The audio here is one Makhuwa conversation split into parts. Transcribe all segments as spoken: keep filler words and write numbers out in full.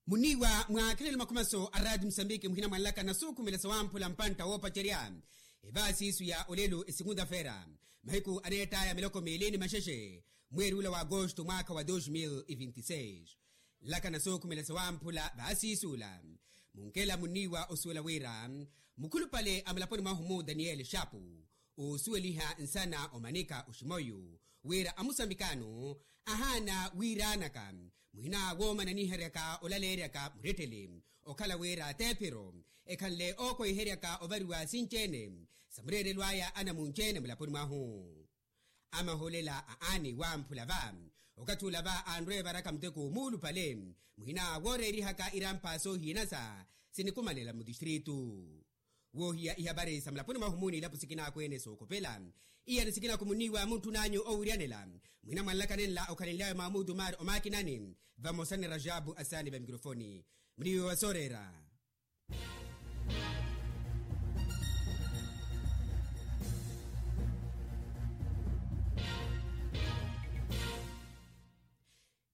Munniiwa mwa akhelelo makhumaso a raati musambiki muhina mwanlaka nasuukhumela sawamphula mpantta woopacerya evaasi isu ya olelo esikunda fera mahiku aneettaya miloko miili ni maxexe mweeri ula wa agosto mwaakha wa dos mil e vinti seis. Nlaka nasuukhumela sawamphula vaasi isu ula munkela munniiwa osuwela wira mukhulupale a mulaponi mwahu mu daniyeli xapu oosuweliha nsana omanika oximoyu wira amusambikano ahaana wiiranaka muhina woomananiheryaka olaleeryaka murettele okhala wira teephiro ekhanle ookweheryaka ovariwa sinci-ene sa mureerelo aya anamunci-ene mulaponi mwahu. Amahoolela a aani wamphula va okathi ula va anrwe evaraka muteko muulupale muhina wooreerihaka irampha soohiyanasa sinikumanela mutistritu. Woohiya ihapari sa mulaponi mwahu mu n'ilapo sikinaaku-ene sookopela iyani sikinaaku munniiwa muntthun'anyu oowiryanela muhina mwanlaka nenla okhalenlyawe mwa mutumari omaakinani vamosa ni rajabu asaani va mikrofoni. Munniiwa wa sooreera.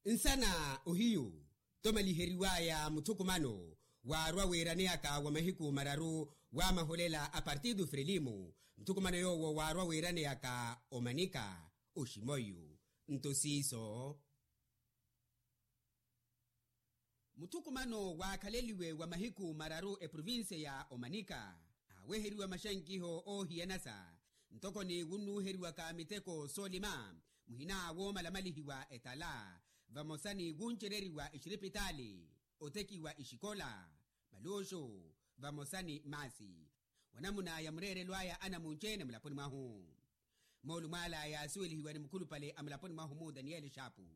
Nsana ohiyu tomaliheriwaya muthukumano waarwa wiiraneyaka wa mahiku mararu wa maholela a partidu frelimu muthukumano yoowo waarwa wiiraneyaka omanika oximoyu nto siiso. Muthukumano waakhaleliwe wa mahiku mararu eprovincia ya omanika aaweheriwa maxankiho oohiyanasa ntoko ni wunnuuheriwaka miteko soolima muhina woomalamalihiwa etala vamosa ni wuncereriwa exiripitaali otekiwa exikola maluxu vamosa ni maasi wanamuna ya mureerelo aya anamunci-ene mulaponi mwahu. Moolu mwaala yaasuwelihiwa ni mukhulupale a mulaponi mwahu mu daniyeli xapu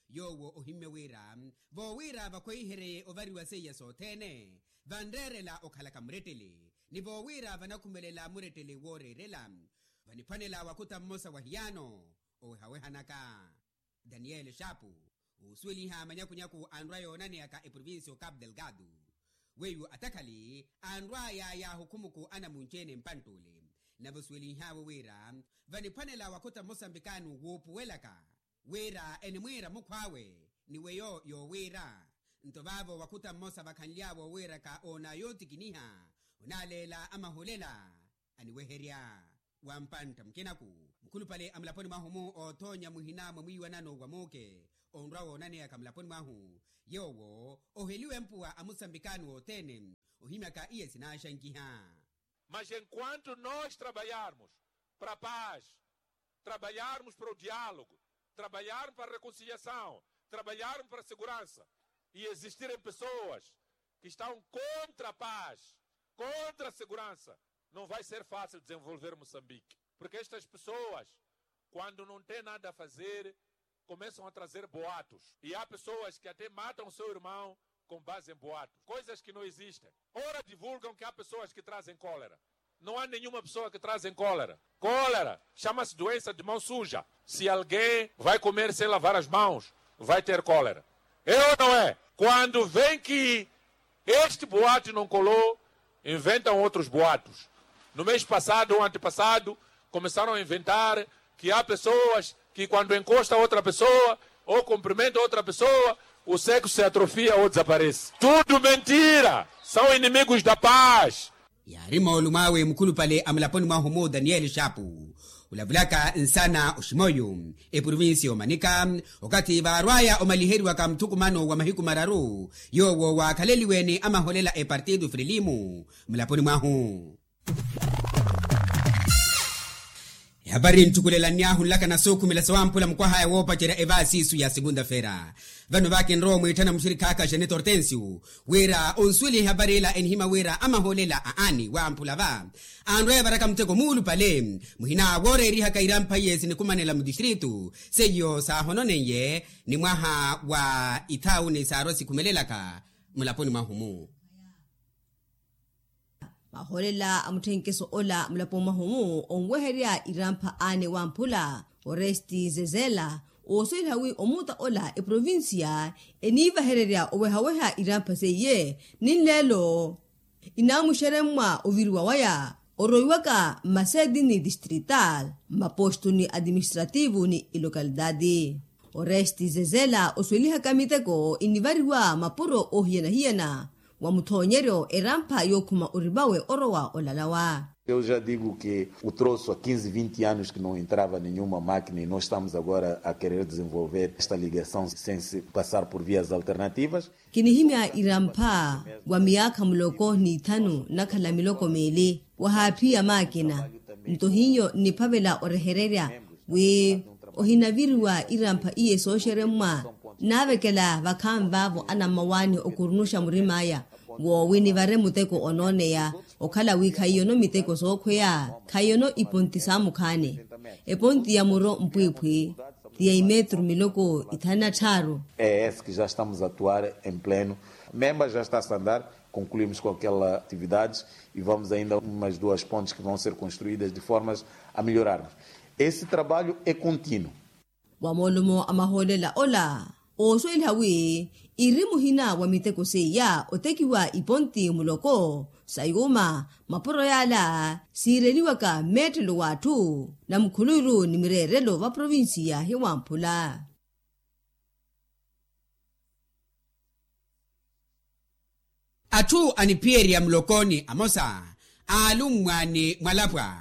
yoowo ohimmye wira voowira vakhweihereye ovariwa seiya sothene vanreerela okhalaka murettele ni voowira vanakhumelela murettele wooreerela vaniphwanela wakhuta mmosa wa hiyaano owehawehanaka. Daniyeli xapu oosuweliha manyakunyaku anrwa yoonaneyaka eprovincia o capu delgado weiwo atakhali anrwaya yaahukhumuku anamunci-ene mpantt'ule nave osuwelinhaawe wira vaniphwanela wakhuta mmosa mbikaanu wuupuwelaka wira enimwiira mukhw'awe ni weyo yoowiira nto vaavo wakhuta mmosa vakhanly'awe owiiraka oona yootikiniha onaaleela amahulela aniweherya. Wa mpantta mukinaku mukhulupale a mulaponi mwahu mu oothoonya muhina mwa mwiiwanano wa muuke onrwa woonaneyaka mulaponi mwahu yoowo oheliwe mpuwa a musambikani wothene ohimyaka iye sinaaxankiha. Mas enquanto nós trabalharmos para a paz, trabalharmos para o diálogo, trabalharmos para a reconciliação, trabalharmos para a segurança e existirem pessoas que estão contra a paz, contra a segurança, não vai ser fácil desenvolver Moçambique. Porque estas pessoas, quando não têm nada a fazer, começam a trazer boatos. E há pessoas que até matam seu irmão com base em boatos. Coisas que não existem. Ora divulgam que há pessoas que trazem cólera. Não há nenhuma pessoa que trazem cólera. Cólera chama-se doença de mão suja. Se alguém vai comer sem lavar as mãos, vai ter cólera. É ou não é? Quando vem que este boato não colou, inventam outros boatos. No mês passado ou antepassado, começaram a inventar que há pessoas que quando encosta outra pessoa ou cumprimenta outra pessoa, o sexo se atrofia ou desaparece. Tudo mentira! São inimigos da paz. Yaari moolumo awe mukhulupale a mulaponi mwahu mu daniyeli xapu olavulaka nsana oximoyu eprovincia omanika okathi vaarwaya omaliheriwaka muthukumano wa mahiku mararu yoowo waakhaleliwe ni amaholela epartido frelimu mulaponi mwahu. Ehapari nttukulela nniahu nlaka nasookhumela sawamphula mukwahaya woopacerya evaasi isu ya segunda fera. Vano vakinrowa omwiitthana muxirikhaaka xeneto hortensio wira onsuweliha ehapari ila enihimya wira amaholela a aani wamphula va anrweevaraka muteko muulupale muhina wooreerihaka irampha iye sinikumanela mutistritu seiyo saahononeiye ni mwaha wa ithaawuni saarwa sikhumelelaka mulaponi mwahu-mu. Mahoolela a mutthenkeso ola mulaponi mwahu-mu onweherya irampha aane wamphula oresti zezela oosweliha wi omuuta ola eprovincia eniivahererya owehaweha irampha seiye ni nleelo inaamuxeremmwa oviriwa waya oroiwaka mmaseeti ni distrital mmapostu ni administrativu ni ilocalidadi. Oresti zezela osuwelihaka miteko inivariwa mapuro oohiyana-hiyana wa muthoonyeryo erampha yookhuma orivawe orowa olalawa. Eu já digo que o troço há quinze vinte anos que não entrava nenhuma máquina e nós estamos agora a querer desenvolver esta ligação sem se passar por vias alternativas. Kinihimya irampha wa miyaakha muloko n'ithanu nakhala miloko meeli wahaaphiya maakina. Nto hiyo nniphavela orehererya wi ohinaviriwa irampha iye sooxeremmwa. Naavekela vakhaani vaavo anammawaani okurunuxa murim'aya woowi nivare muteko onooneya okhala wi khahiyono miteko sookhweya. Khahiyono iponti saamukhaani. Eponti ya muro mpwiiphwi ti ya imetru miloko ithanu na tthaaru. É esse que já estamos a atuar em pleno. Memba já está a andar, concluímos com aquela atividade e vamos ainda umas duas pontes que vão ser construídas de formas a melhorarmos. Esse trabalho é contínuo. Wa moolumo a mahoolela ola oosuweliha wi iri muhina wa miteko seiya otekiwa iponti muloko sa yuuma. Mapuro yaala siireliwaka mmeettelo w'atthu na mukhuluiru ni mireerelo va provincia ya hiwamphula. Atthu aniphiyerya mulokooni amosa aalummwa ni mwalapwa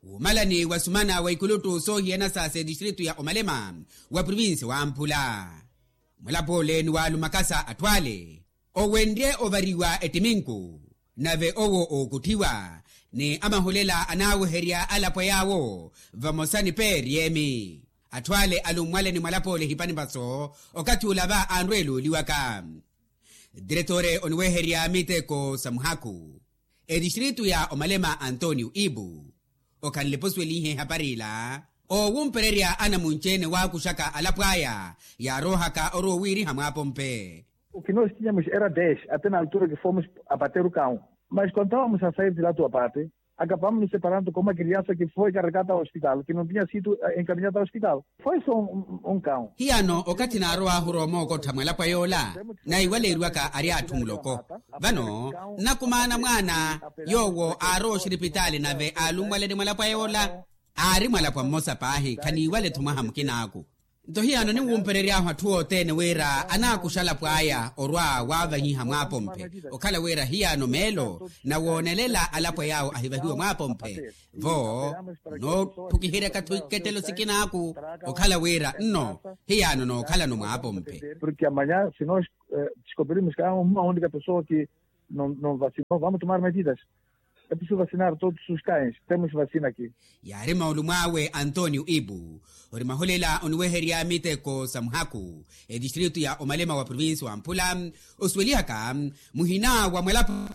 wuumalani wa sumana wa ikuluttu soohiyana sa setistritu ya omalema wa provinsi wamphula. Mwalapwa ole ni waalumakasa atthu ale owenrye ovariwa ettiminku nave owo ookutthiwa ni amahulela anaaweherya alapwa yaawo vamosa ni peeriyemi. Atthu ale alummwale ni mwalapwa ole ehipani vaso okathi ula va anrweela oliwaka. Diretore oniweherya miteko sa muhaku etistritu ya omalema antonio ibu okhanle posuwelihe ehapari ila oowumpererya anamunci-ene waakuxaka alapw'aya yaaroohaka orowa owiiriha mwaapompe. O que nós tínhamos era dez até na altura que fomos abater o cão, mas quando estávamos a sair de lá do abate acabamos nos separando com uma criança que foi carregada ao hospital que não tinha sido encaminhada ao hospital. Foi só um cão. Hiyano okathi naarow'ahu oroomookotha mwalapwa yoola naiwaleeriwaka ari atthu muloko. Vano nnakumaana mwaana yoowo aarowa oxiripitaali nave aalummwale ni mwalapwa yoola aari mwalapwa mmosa paahi khaniiwale-tho mwaha mukinaaku. Nto hiyano ninwumperery'ahu atthu othene wira anaakuxa alapw'aya orwa waavahiha mwaapomphe okhala wira hiyano meelo nawoonelela alapwa yaawo ahivahiwe mwaapomphe. Vo noophukiheryaka-tho ikettelo sikinaaku okhala wira nno hiyano nookhalano mwaapomphe. Porque amanhã se nós descobrirmos que há uma única pessoa que não vacinou vamos tomar medidas. É preciso vacinar todos os cães. Temos vacina aqui. Yaari maulumw'awe antonio ibu ori mahulela oniweherya miteko sa muhaku etistritu ya omalema wa provinsi wamphula osuwelihaka muhina wa mwalapwa.